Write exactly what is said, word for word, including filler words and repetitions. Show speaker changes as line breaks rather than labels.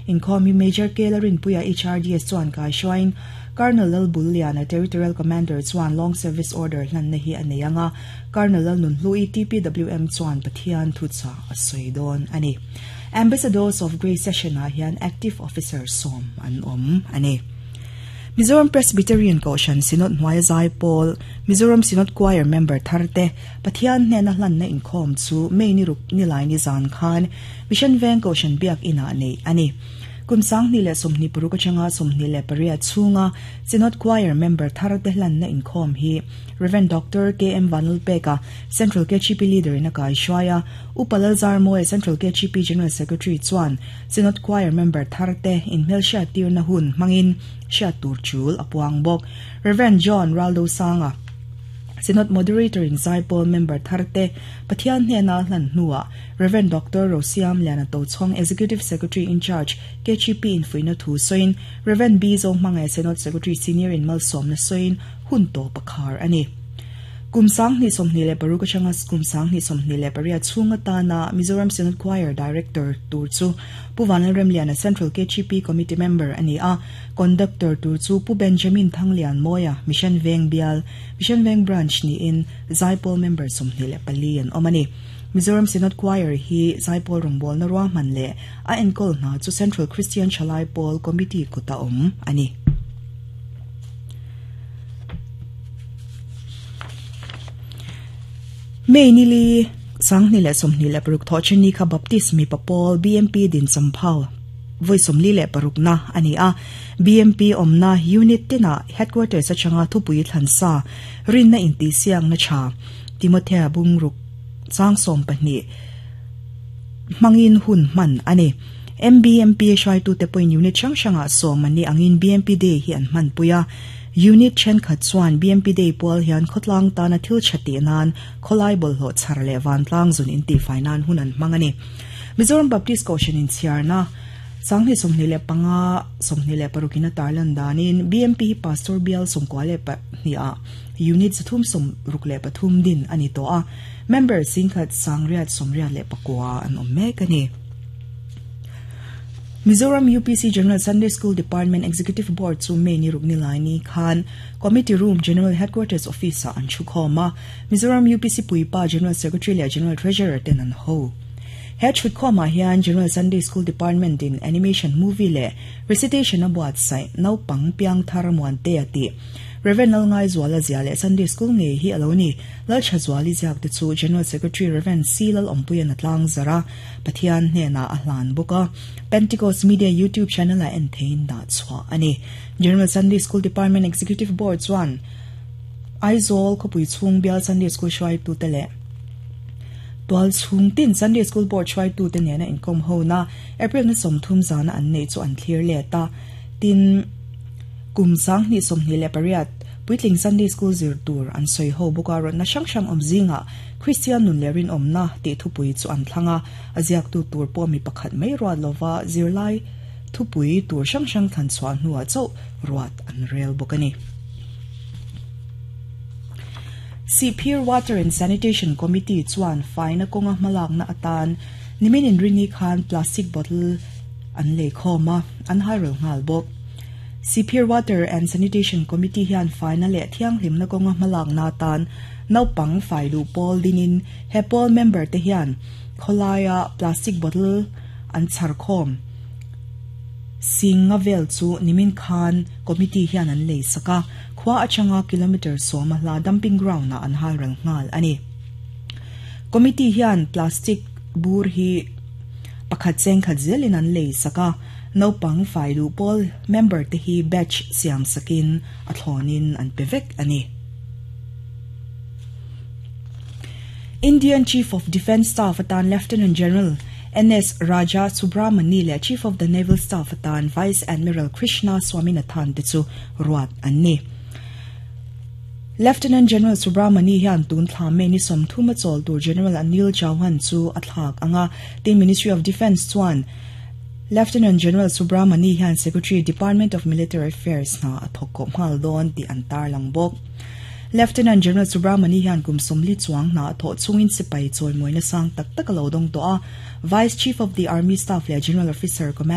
Inkhawm hi Major K Lalrinpuia H R D S chuan kaihruaiin Colonel Lalbulliana Territorial Commander chuan Long Service Order hlanna hi a nei anga Colonel Lalnunhlui T P W M chuan Pathian thuchah a sawi dawn a ni. Ambassadors of Grace session ah hian active officer sawm an awm a ni. Mizoram Presbyterian Kohhran Synod hnuaia Zaipawl Mizoram Synod Choir member tharte Pathian hnena hlanna inkhawm chu May ni ruk nilai ni zan khan Mission Veng Kohhran Biak inah nei a ni. Kum sanghnih leh sawmhnih paruk atanga sawmhnih leh pariat chhunga Synod Choir member tharte hlanna inkhawm hi Reverend Doctor K M Vanlalpeka Central K H P leader in a kaihruai a Upa Lalzarmawi Central K H P General Secretary chuan Synod Choir member tharte inhmelhriat tirna hun hmangin hriat tur chul a puang bawk. Reverend John Raldo Sanga Synod Moderator in Zaipawl member tharte Pathian hnena hlan hnuah Reverend Doctor Rosiam Liana Tochhawng Executive Secretary in Charge K H P in fuihna thu sawiin Reverend B Zohmanga Synod Secretary Senior in malsawmna sawiin hun tawp a khar a ni. Kum sanghnih sawmhnih leh paruk atanga kum sanghnih sawmhnih leh pariat chhung atana Mizoram Synod Choir Director tur chu Pu Vanlalremliana Central K H P Committee member a ni a, Conductor tur chu Pu Benjamin Thanglian Mawia Mission Veng Bial Mission Veng Branch niin Zaipawl member sawmhnih leh pali an awm a ni. Mizoram Synod Choir hi Zaipawl rawngbawlna ruahman leh a enkawl hna chu Central Christian Thalai Pawl Committee kuta awm a ni. May nili sanghnih leh sawmhnih leh paruk thawhchheni kha Baptist mipa pawl B M P din champhau vawi sawmli leh parukna a ni a. B M P awmna unit tinah headquarters atanga thupui thlansa rinna intihsiakna tha Timothea bungruk chang sawm pahnih hmangin hun hman a ni. M B M P hruaitute pawhin unit hrang hrangah sawm an ni angin B M P Day hi an hmanpui a. Unit thenkhat chuan B M P Day pual hian khawtlang tana thil tha tih nan khawlai bawlhhlawh chhar leh vantlang zun intihfai nan hun an hmang a ni. Mizoram Baptist Kohhran inchhiarna sanghnih sawmhnih leh panga sawmhnih leh parukin a tarlan danin B M P hi Pastor Bial sawmkua leh pahnih unit zathum sawm ruk leh pathum din a ni tawh a, member singkhat sangriat sawmriat leh pakua an awm mek a ni. Mizoram U P C General Sunday School Department Executive Board chu May ni ruk nilai ni khan Committee Room General Headquarters Office ah an thukhawm a, Mizoram U P C Puipa General Secretary leh General Treasurer ten an ho. He thutkhawmah hian General Sunday School Department in animation movie leh recitation a buatsaih naupang piangthar Muantea tih Reverend Lalngaizuala ziah leh Sunday School ngei hi a lo ni Lalthazuali ziak te chu General Secretary Reverend C Lalawmpuian a tlang zar a, Pathian hnenah a hlan bawk a. Pentecost Media YouTube channel ah en theiin dah chhuah a ni. General Sunday School Department Executive Board chuan Aizawl khawpui chhung bial Sunday School hruaitute leh tual chhung tin Sunday School Board hruaitute nena inkawm hona April ni sawmthum zana an neih chu an thlir let a. Tin, kum sanghnih sawmhnih leh pariat puitling Sunday School zir tur an sawi ho bawk a, rawtna hrang hrang awm zingah Kristian nun leh rinawmna tih thupui chu an thlang a, a ziaktu tur pawh mi pakhat mai ruat lova zirlai thupui tur hrang hrang thlan chhuah hnuah chauh ruat an rel bawk a ni. Sihphir Water and Sanitation Committee chuan faina kawnga hmalakna atan nimin inrini khan plastic bottle an lei khawm a, an hairel nghal bawk. Sihphir Water and Sanitation Committee hian faina leh thianghlimna kawnga hmalakna atan naupang fai duh pawl dinin he pawl member te hian khawlaia plastic bottle an chhar khawm singa vel chu nimin khan committee hian an lei sak a, khua atanga kilometre sawma hla dumping ground ah an halral nghal a ni. Committee hian plastic bur hi pakhat cheng khat zelin an lei sak a, naupang fai duh pawl member te hi batch siam sakin a thlawnin an pe vek a ni. Indian Chief of Defence Staff atan Lieutenant General N S Raja Subramani leh Chief of the Naval Staff atan Vice Admiral Krishna Swaminathan te chu ruat an ni. Lieutenant General Subramani hian tun thla May ni sawmthum a chawl tur General Anil Chauhan chu a thlak anga tin Ministry of Defence chuan Lieutenant General Subramani hian Secretary Department of Military Affairs hna a thawk kawp nghal dawn tih an tarlang bawk. Lieutenant General Subramani hian kum sawmli chuang hna a thawh chungin sipai chawimawina sang tak tak a lo dawng tawh a, Vice Chief of the Army Staff leh General Officer Command